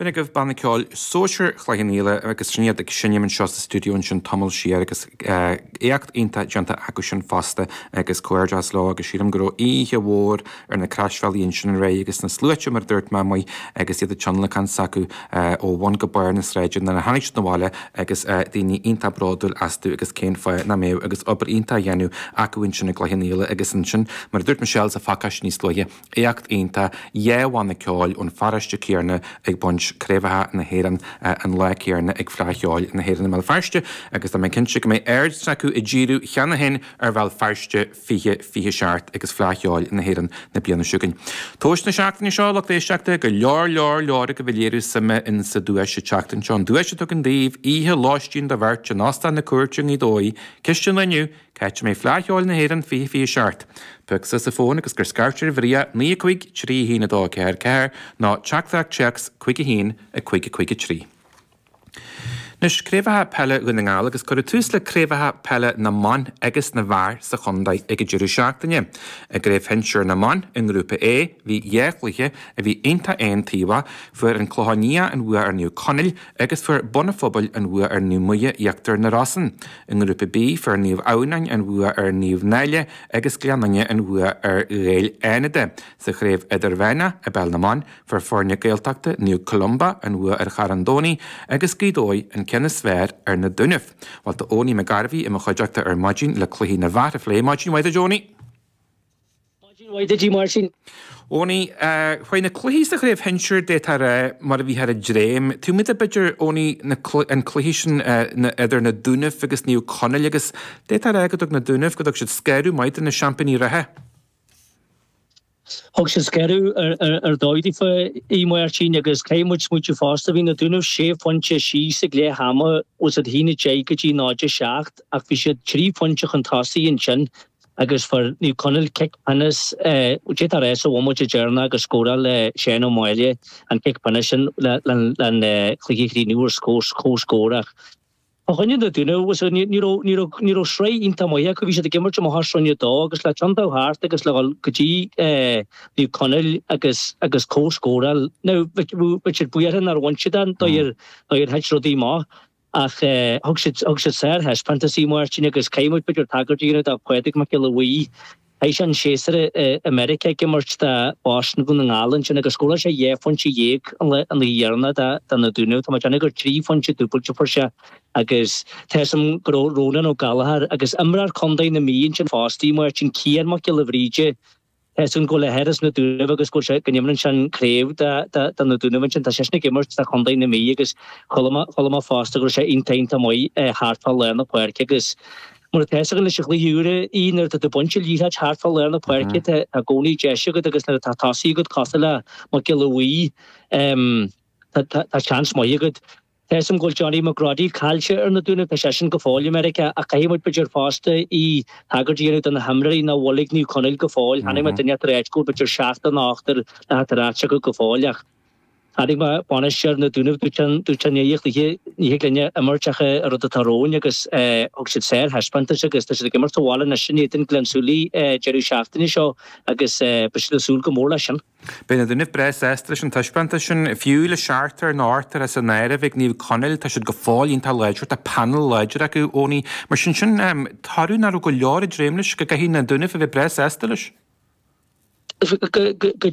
B'in agaibh Banna Ceoil Sóisir Chloich Cheann Fhaola agus sin iad ag seinm anseo sa stiúideo ansin tamall siar agus éacht iontach déanta acu sin fosta agus comhghairdeas leo agus sílim go raibh oíche mhór ar na croisbhealaí ansin aréir agus na sluaite mar a dúirt mé amuigh agus iad ag tionlacan s'acu ó bhun go barr na sráide nuair a tháinig siad 'na bhaile agus daoine iontach bródúil astu agus cén fáth nach mbeadh agus obair iontach á dhéanamh acu ansin i gCloich Cheann Fhaola agus ansin mar a dúirt Michelle sa phacáiste níos luaithe Éacht iontach, 2 bhanna ceoil ón pharóiste céanna ag baint craobhacha na hÉireann an lá céanna ag Fleadh Cheoil na hÉireann i mBéal Feirste agus tá mé cinnte go mbeidh aird s'acu ag díriú cheana féin ar Bhéal Feirste 2027 agus Fleadh Cheoil na hÉireann na bliana seo chugainn. Tomhais na seachtaine seo, lucht éisteachta, go leor leor leor agaibh ag léiriú suime in sa duais an tseachtain seo, an duais a tugann daoibh oíche lóistín do bheirt in Óstán na Cúirte i nGaoth Dobhair, Ceist an lae inniu, Cá háit a mbeidh Fleadh Cheoil na hÉireann 2027? Pioc suas an fón agus cuir scairt ar Mharia 9 5 3 1 2 4 4 nó teachtaireacht téacs 5 1 5 5 3. Anois, Craobhacha Peile Dhún na nGall agus cuireadh tús le Craobhacha Peile na mBan agus na bhFear sa chontae ag an deireadh seachtaine. I gCraobh Shinsir na mBan i nGrúpa A bhí dhá chluiche a bhí iontach aontaobhach, fuair an Clochán Liath an bhua ar Naomh Conaill agus fuair Bun an Phobail an bhua ar Naomh Muire Íochtar na Rosann. I nGrúpa B, fuair Naomh Adhamhnáin an bhua ar Naomh Náille agus Gleann Fhinne an bhua ar Ghaeil Fhánada. Sa chraobh idirmheánach i bPeil na mBan, fuair foirne Gaeltachta Naomh Columba an bhua ar Charn Domhnaigh agus Gaoth Dobhair an ceann is fearr ar na Dúnaibh. Bhuel, tá Owenie McGarvey i mo chuideachta ar maidin le cluichí na bhfear a phlé. Maidin mhaith duit, Owenie! Maidin mhaith duit, a Mháirtín. Owenie, chuaigh na cluichí sa chraobh shinsir, d'fhéadfá a rá, mar a bhí thar a dréim. Taobh amuigh de b'fhéidir, Owenie, an cluiche sin idir na Dúnaibh agus Naomh Conaill agus d'fhéadfá a rá go dtug na Dúnaibh, go dtug siad scanradh maith do na seaimpíní reatha. Thug siad scanradh ar dóigh daofa, a Mháirtín, agus caithfidh muid smaointiú fosta, bhí na Dúnaibh sé phointe síos ag leath ama, bhfuil a fhios agat 1-10 go dtí 0-7 ach bhí siad trí phointe chun tosaigh ansin. Agus fuair Naomh Conaill cic pionóis, d'fhéadfá a rá sa bhomaite deireanach agus scóráil Seán Ó Máille an cic pionóis sin le an cluiche a chríochnú ar comhscór. Ach fá choinne na Dúnaibh, ní raibh, ní raibh, ní raibh sraith iontach maith acu. Bhí siad ag imirt amach as Roinn 2 agus le tiontú thart agus le dhul go dtí Naomh Conaill agus, agus comhscóráil. Now, bheadh siad buartha nár bhain siad an dóigh ar, dóigh ar thit rudaí amach. Ach thug siad, thug siad sárthaispeántas a Mháirtín agus caithfidh muid b'fhéidir tagairt a dhéanamh do Phádraig Mac Giolla Bhuí. Chaith sé an séasúr i Meiriceá ag imirt do Boston Dhún na nGall ansin agus scóráil sé 12 phointe an lá, an oíche dheireanach do, do na Dúnaibh. Tá mé ag déanamh gur trí phointe dúbailte a fuair sé agus tá 'fhios a'm go raibh Rónán Ó Gallchóir agus imreoir contae na Mí ansin fosta a Mháirtín, Cian Mac Giolla Bhríde, Tá 'fhios a'm go bhfuil a athair as na Dúnaibh agus go bhfuil sé, go n-imríonn sé an craobh do na Dúnaibh ansin. Tá seisean ag imirt do chontae na Mí agus chuala mé, chuala mé fosta go raibh sé iontach, iontach maith thart fá lár na páirce agus mar atá 'fhios againn leis an chluiche úr í nuair atá tú ag baint an liathróid thart fá lár na páirce tá i gcónaí deis agat agus nuair atá tosaí agat cosúil le Mac Giolla Bhuí tá, tá seans maith agat. Tá 'fhios a'm go bhfuil Johnny McGroddy caillte ar na Dúnaibh, tá seisean go fóill i Meiriceá, ach caithfidh muid b'fhéidir fosta í tagairt a dhéanamh do na himreoirí nach bhfuil ag Naomh Conaill go fóill. Chonaic mé duine ag ráit go bhfuil b'fhéidir seachtar nó ochtar le theacht ar ais acu go fóill ach chonaic mé bainisteoir na Dúnaibh, dúirt sé dúirt sé i ndiaidh an chluiche ní thig linne imirt ach an rud atá romhainn agus thug siad sárthaispeántas agus tá siad ag imirt sa bhaile anois in éadan Gleann tSúilí deireadh seachtaine seo agus beidh siad ag súil go mór leis sin. Beidh na Dúnaibh breá sásta leis an taispeántas sin. Fiú le seachtar nó ochtar as an áireamh ag Naomh Conaill, tá siad go fóill iontach láidir, tá panel láidir acu, Owenie. Mar sin, sin toradh nach raibh go leor ag dréim leis, go gcaithfidh na Dúnaibh a bheith breá sásta leis. Go.